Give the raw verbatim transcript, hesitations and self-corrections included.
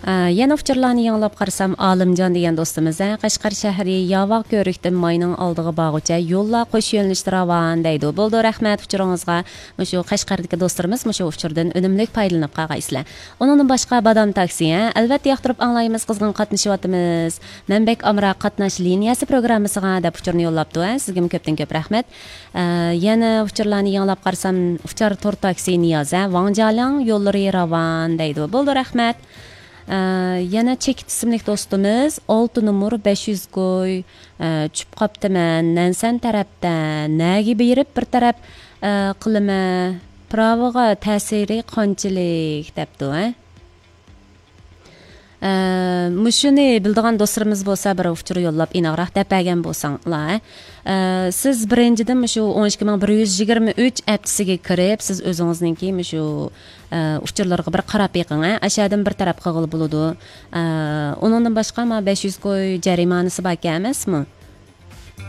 ئە، يەنە ئۇچۇرلارنى يېڭىلاپ قارىسام، ئالىمجان دېگەن دوستىمىز، ھە، قەشقەر شەھىرى ياۋاق كۆۋرۈكتىن ماينىڭ ئالدىغا بارغۇچە يوللار قوش يۆنىلىشتە راۋان دەيدۇ. بولىدۇ، رەھمەت ئۇچۇرىڭىزغا. مۇشۇ قەشقەردىكى دوستلىرىمىز مۇشۇ ئۇچۇردىن ئۈنۈملۈك پايدىلىنىپ قالغايسىلەر. ئۇنىڭدىن باشقا بادام تاكسى، ھە، ئەلۋەتتە ياقتۇرۇپ ئاڭلايمىز، قىزغىن قاتنىشىۋاتىمىز. مەن بەك ئامراق قاتناش لىنىيەسى پروگراممىسىغا دەپ ئۇچۇرنى يوللاپتۇ، ھە، سىزگىمۇ كۆپتىن كۆپ رەھمەت. ئە، يەنە ئۇچۇرلارنى يېڭىلاپ قارىسام، ئۇچار تور تاكسى نىياز، ھە، ۋاڭجالىڭ يوللىرى راۋان دەيدۇ. بولىدۇ، رەھمەت. ئە، يەنە چېكىت ئىسىملىك دوستىمىز، ئالتە نومۇر، بەش يۈز كوي، ئە، چۈشۈپ قاپتىمەن، نەنسەن تەرەپتە، نەگە بېرىپ بىر تەرەپ، ئە، قىلىمەن، پىراۋىغا تەسىرى قانچىلىك دەپتۇ، ھە. ئە، مۇشۇنى بىلىدىغان دوستلىرىمىز بولسا، بىر ئۇچۇر يوللاپ ئېنىقراق دەپ بەرگەن بولساڭلار. ئە، سىز بىرىنچىدىن مۇشۇ ئون ئىككى مىڭ بىر يۈز يىگىرمە ئۈچ ئەپچىسىگە كىرىپ، سىز ئۆزىڭىزنىڭكى مۇشۇ، ئە، ئۇچۇرلىرىغا بىر قاراپ بېقىڭ، ھە. ئاشۇ يەردىن بىر تەرەپ قىلغىلى بولىدۇ. ئە، ئۇنىڭدىن باشقا، ما بەش يۈز كوي جەرىمانىسى باركەن ئەمەسمۇ؟